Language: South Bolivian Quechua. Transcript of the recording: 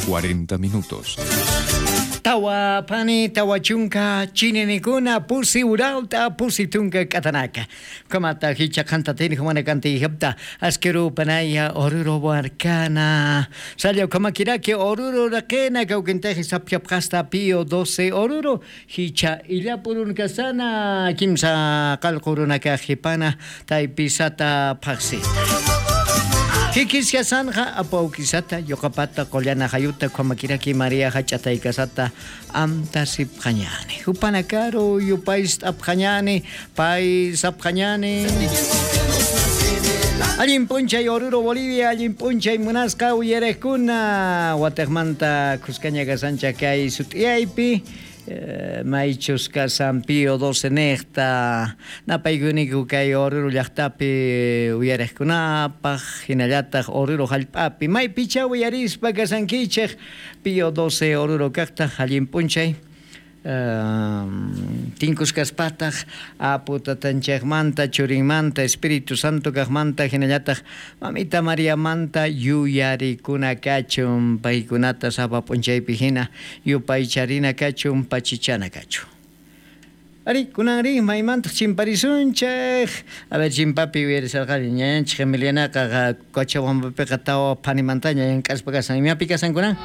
40 minutos. Tawa pani 40 chininikuna pusi uralta pusi tunka k'atanaka. Kamata hicha qanta tini humana kanti hapta askeru panaya oruro barkana. Salio kamakiraki oruro raqena kawkintaji sapyapqasta pío 12 oruro hicha illapurun kasana kimsa qalqurunaka jipana taypisata phaqsita. Kikisqa sanja apaukisata yoqapata qollana hayuta kamakiraki María hach'ataykasata amta sipqañani. Hupanakaru yupaysta apqañani pay sapqañani. Allin p'unchay Oruro Bolivia, allin p'unchay munasqa uyariqkuna wataqmanta kuskaña kasancha kay sut'iyaypi. Maychus kasan Pío 12 niqta napaykuniku kay Oruro llaqtapi uyariqkunapaq hinallataq Oruro hallp'api maypicha uyarispa kasankichik Pío 12 Oruro kaqta allin p'unchay tinkus kaspataq apu tatanchikmanta churinmanta Espíritu Santo kaqmanta hinallataq mamita Mariamanta yuyarikuna kachun paykunata sapa p'unchaypi hina yupaycharina kachun pachichana kachun. Ari, kunanri maymantaq chimparisunchik. A ver, chimpapi uyarisarqani ñañanchik Emilianaqa Cochabambapiqa tawa phanimantaña llank'aspa kasan. Imapi kasan kunan?